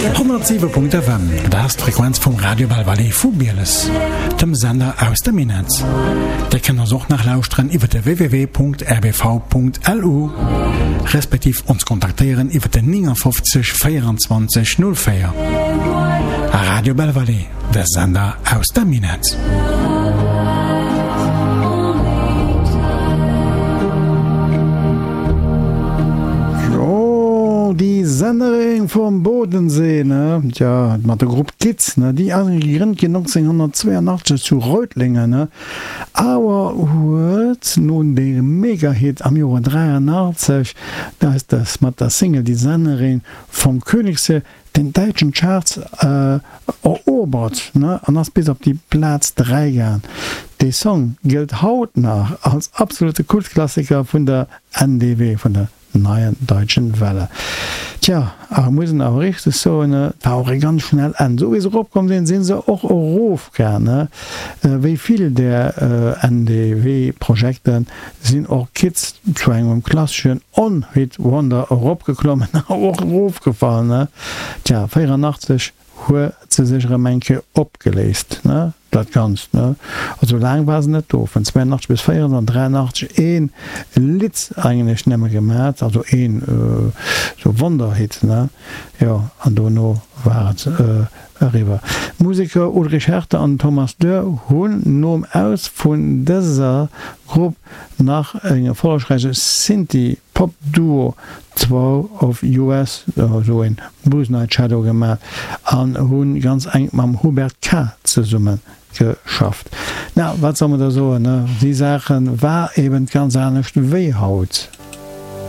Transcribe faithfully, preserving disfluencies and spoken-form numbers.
Honnertsiwe Punkt F M, dat ass d'Frequenz vum Radio Belle Vallée vu Bieles, dem Sender aus dem Minett. Dir kënnt eis och nach lauschteren iwwer de w w w Punkt r b v Punkt l u respektiv ons kontaktéieren iwwer de neunundfünfzig vierundzwanzig null vier. Radio Belle Vallée, de Sender aus dem Minett. Jo, Die Sennerin vom Bodensee, ne? Tja, mat der Grupp Kitz, ne? Déi ass gegrënnt ginn nonzénghonnertzweeanachtzeg zu Reutlingen, ne? Awer huet no dem Megahit am Joer dräianachtzeg, da ass das mat der Single Die Sennerin vom Königssee, den däitschen Charts erobert, ne? An ass bis op déi Plaz dräi gaang. Dee Song gëllt haut nach als absolute Kultklassiker vun der N D W, vun der Neuen Deutschen Welle. Tja, awer muss een awer richteg soen, et war och e ganz schnell Enn. Esou wéi se eropkomm sinn, si se och erofgaang. Wéi vill där N D W-Projekte sinn och Kids zu engem klasseschen One-Hit-Wonder eropgeklommen a och erofgefall. Tja, véierannachtzeg huet se sech erëm eng Kéier opgeléist, ne, dat Ganzt, ne. Also laang war se net do, vun zweeanachtzeg bis véierundachtzeg an dräianachtzeg een Lidd eigentlech nëmme gemat, also een sou Wonderhit, ne, jo, an dono war et eriwwer. D'Museker Ulrich Härter an Thomas Dörr hunn nom Aus vun dëser Grupp nach en erfollegräiche Synthie-Pop-Duo Two of Us, esou een Blues Night Shadow, gemaach an hu ganz enk mam Hubert Kah zesumme geschafft. Na, wat soll mer da soen, ne? Déi Saache war eben ganz anescht wéi haut.